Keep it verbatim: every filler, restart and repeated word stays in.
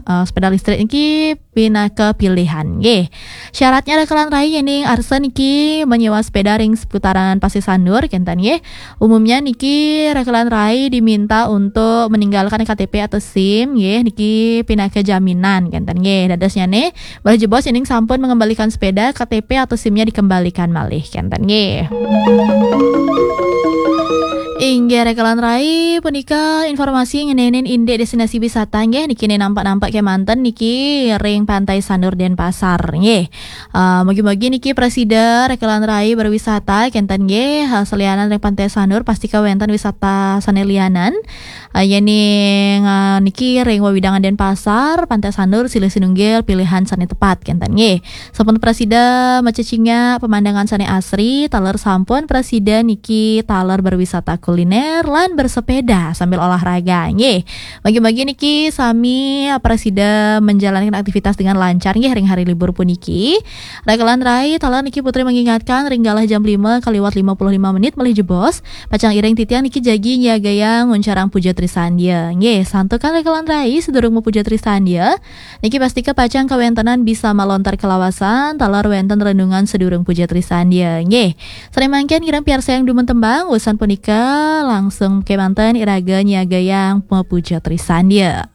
eh, sepeda listrik niki pinaka pilihan nggih. Syaratnya rekelan rai yening arsa niki menyewa sepeda ring seputaran Pasir Sanur kenten nggih. Umumnya niki rekelan rai diminta untuk meninggalkan K T P atau SIM nggih, niki pinaka jaminan kenten nggih. Dadosnyane, malih jebos yening sampun mengembalikan sepeda, K T P atau SIM-nya dikembalikan malih kenten nggih. Inggih rekelan rai, punika informasi ngenenin indik destinasi wisata nggih, niki ne nampak-nampak kemanten niki ring Pantai Sanur Denpasar nggih. Uh, mugi-mugi niki prasida rekelan rai berwisata kenten nggih, uh, selianan ring Pantai Sanur pasti kawenten wisata sane lianan. Uh, yening uh, niki ring wewidangan Denpasar, Pantai Sanur silih sinunggil pilihan sane tepat kenten nggih. Sampun prasida macecingak pemandangan sane asri, taler sampun prasida niki taler berwisata kuliner lan bersepeda sambil olahraga nggih. Mugi-mugi niki sami prasida menjalankan aktivitas dengan lancar nggih ring hari libur puniki. Rekelan rai, taler niki Putri mengingatkan ring galah jam lima kaliwat lima puluh lima menit malih jebos, pacang iring titiang niki jagi nyiagayang nguncarang puja trisandia nggih. Santukan rekelan rai sedurung mapuja trisandia, niki pastika pacang kawentenan bisa malontar kalawasan, taler wenten renungan sedurung puja trisandia nggih. Sane mangkin kirang piarsayang dumun tembang, usan punika langsung kemanten iraga nyiagayang mapuja trisandia.